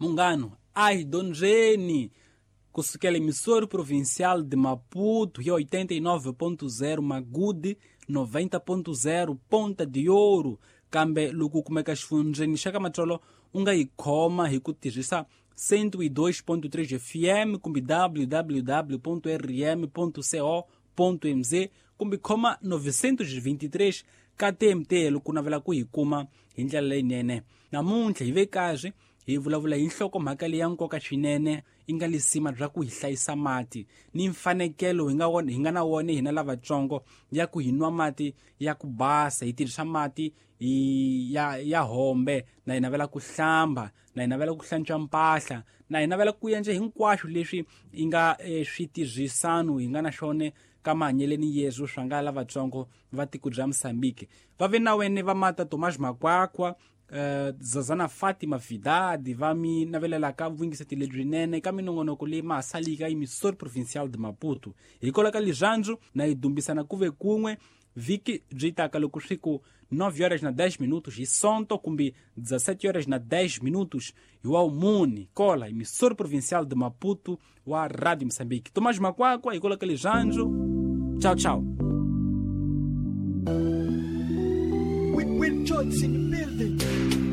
Munghano a hi dyondzeni kusukela emissora provincial de Maputo ya 89.0 Magude 90.0 Ponta de Ouro kambe loko u kumeka xifundzeni xa ka Matsolo u nga yi khoma hi ku tirhisa 102.3 FM kumbe www.rm.co.mz kumbe khoma 923 ka TMT loko u navela ku yi kuma hi ndlela leyinene. Namuntlha hi ve karhi hi vulavula hi nhlokomhaka leyi ya nkoka swinene yi nga lisima bya ku hi hlayisa mati ni mfanekelo hi nga wona hi nga na wona hina lavatsongo ya ku hi nwa mati ya ku basa hi tirhisa mati hi ya ya hombe na hi navela ku hlamba na hi navela ku hlantswa mpahla na hi navela ku endla hinkwaswo leswi yi nga switirhisano hi nga na swona ka mahanyeleni yesu swa nga lavatsongo va tiko bya Mozambique va ve na wene va mata Tomás Makwakwa Zazana Fatima Vidadi va mi navelelaka vuyingiseti lebyinene ka minongonoko leyi ma ha salika emissora provincial de Maputo hikwalaho ka lirhandzu na yi dumbisana ku ve kun'we vhiki byi taka loko swi ku 9 horas na 10 minutos hi sonto kumbe 17 horas na 10 minutos hi wa muni kola emissora provincial de Maputo wa Radio Moçambique. Tomás Makwakwa hikwalaho ka lirhandzu. Tchau, tchau. With Johnson in the building.